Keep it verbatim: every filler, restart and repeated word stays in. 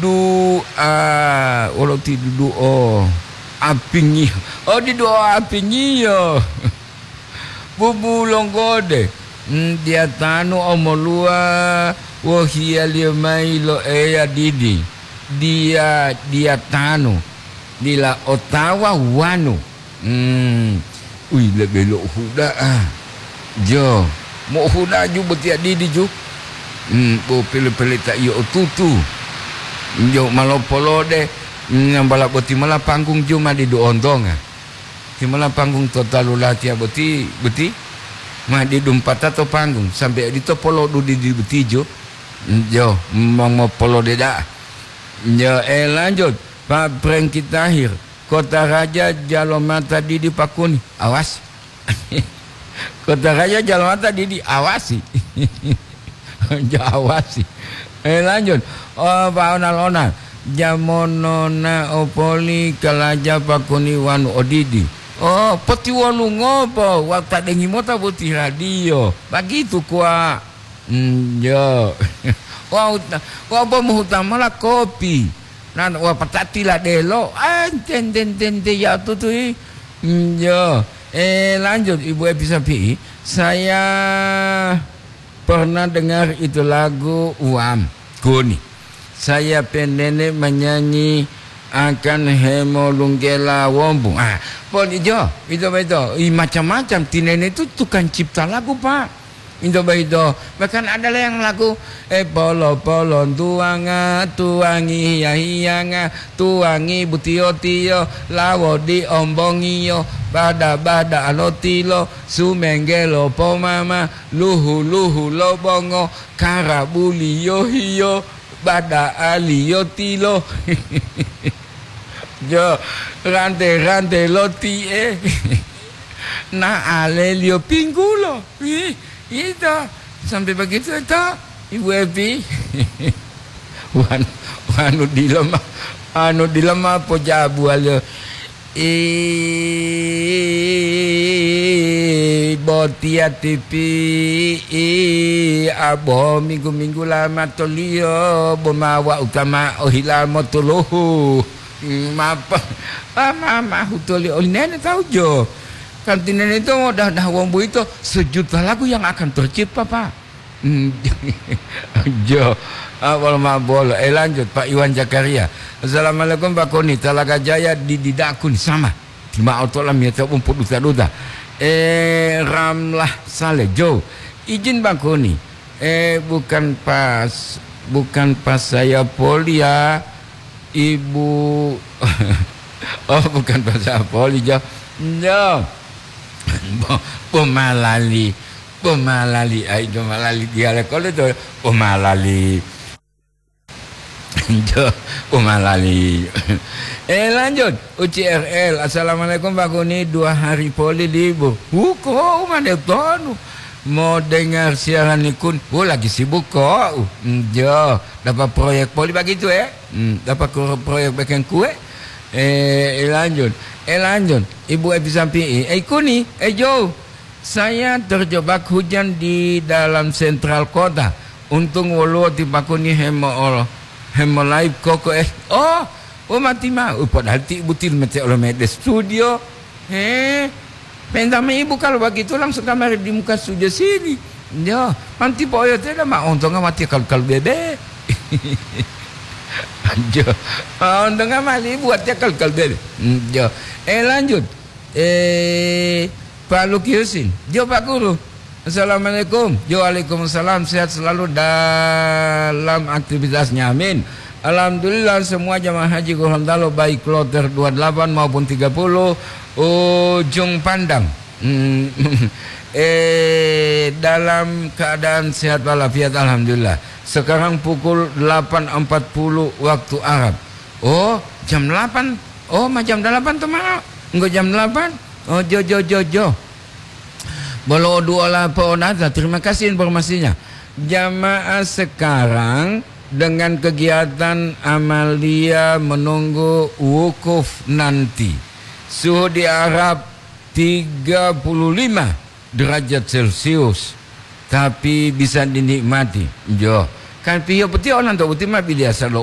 Du'a, wolo ti dudu'o apingi-, oh, didu'o apingiyo. Bubu longgode, mm, diyatanu omoluwa wohiyaliyo mayi lo Eya didi. Diya-, diyatanu, dila otawa wanu. Hmm, uyi lebe lo huda'a. Jo, mo huda'a ju boti adidi ju. Hmm, bo pele-pele ta iyo otutu. Jo malopolode, hmm, nambala boti mala panggung ju ma didu ontonga. Ti mala panggung to talu latiya boti, boti ma didu mpata to panggung. Sampai dito polodu didi boti ju. Hmm, jo, mo-, mopolode da'a. Jo, eh, lanjut. Pak Prengki Tahir. Kota Raja Jalomata Didi Pakuni. Awas. Kota Raja Jalomata Didi, awasi. Ja-, awasi. Eh, lanjut. Oh, Pak Onal-onal. Jamonona opoli kalaja Pakuni wanu odidi. Oh, potiwolu ngopo? Wau tadengi mota boti radio. Bagitu kuwa. Enjo. Wau ta-, wau bo mohuta mola kopi. Nan wapatati ladelo, ah, enten, enten, enten, ya tutui. Enjo. Eh, lanjut, Ibu Epi Sapi'i. Saya pernah dengar itu lagu Uam Kuni. Saya pe nenek menyanyi akan hemolunggela wombu. Ah, pon ijo, itu, itu. I macam-macam. Ti nenek itu tukang cipta lagu, Pak. Into boyito, bahkan ada yang lagu, "Eh, polo-polo tuwanga, tuwangi hiya-hiyanga, tuwangi butiyo-tiyo, lawo di ombongiyo, bada-bada lo tilo, sumenggelo pomama, luhu-luhu lo bongo, karabuliyo hiyo, bada aliyo tilo." Jo, rante-rante lo ti'e. Na aleliyo pinggulo. Ih, ito. Sampai begitu ito, Ibu Epi. Wan-, wanu dila ma, anu dila ma pojabuwaliyo. I botiya tipi, i abo minggu-minggu lamatoliyo, bo ma wa'u ta ma ohila motuluhu. Mapa, ma, ma, ma hutoli oli nene tahu jo. Kan ti nene itu dah, dah wong boyito sejuta lagu yang akan tercipta, Pak. Hmm, jo, awal ma bolo. Eh, lanjut, Pak Iwan Zakaria. "Assalamualaikum, Pak Koni. Talaga Jaya di didakun sama. Tima'o tola miyata umpu duta-duta." Eh, Ramlah Saleh, Jo. Izin, Pak Koni. Eh, bukan pas, bukan pas saya poli ya, Ibu. Oh, bukan pas saya poli, Jo. Jo. Bo-, bomalali. Bomalali, ai, bomalali dialek kole to. Bomalali. Jo, bomalali. Eh, lanjut. U C R L. "Assalamualaikum, Pak Kuni. Dua hari poli libur." Wuko, mana tonu? Mau dengar siaran nikun. Oh, lagi sibuk kok. Jo, dapat proyek poli begitu, eh? Hmm, dapat ko-, proyek bikin kue. Eh, eh, lanjut. Eh, lanjut. Ibu Epi Sampi'i. Eh, Kuni. Eh, Jo. Saya terjebak hujan di dalam sentral kota. Untung woluwo ti Pak Kuni hemo-, hemolive koko, eh. Oh, oh, mati ma. Uh, padahal ti butil mete olo mede studio. He. Penta me ibu kalau begitu langsung kamari di muka studio sini. Yo, nanti po oyo teda ma ontonga mati kalu-kalu bebe. Jo. Ma ontonga mali ibu artinya kalu-kalu bebe. Hmm, jo. Eh, lanjut. Eh, Pak Luki Husin. Jo, Pak Guru. Assalamualaikum. Jo, waalaikumsalam. Sehat selalu dalam aktivitasnya. Amin. Alhamdulillah, semua jamaah haji Gorontalo, baik kloter dua delapan maupun tiga puluh, Ujung Pandang. Hmm, eh, dalam keadaan sehat walafiat, alhamdulillah. Sekarang pukul delapan empat puluh waktu Arab. Oh, jam delapan. Oh, ma jam delapan to, ma. Enggo jam delapan. Oh, jo, jo, jo, jo. Bolo duola po'onata. Terima kasih informasinya. Jamaah sekarang dengan kegiatan amalia menunggu wukuf nanti. Suhu di Arab tiga puluh lima derajat Celcius, tapi bisa dinikmati. Jo. Kan piyo peti olanto uti ma bidiasa lo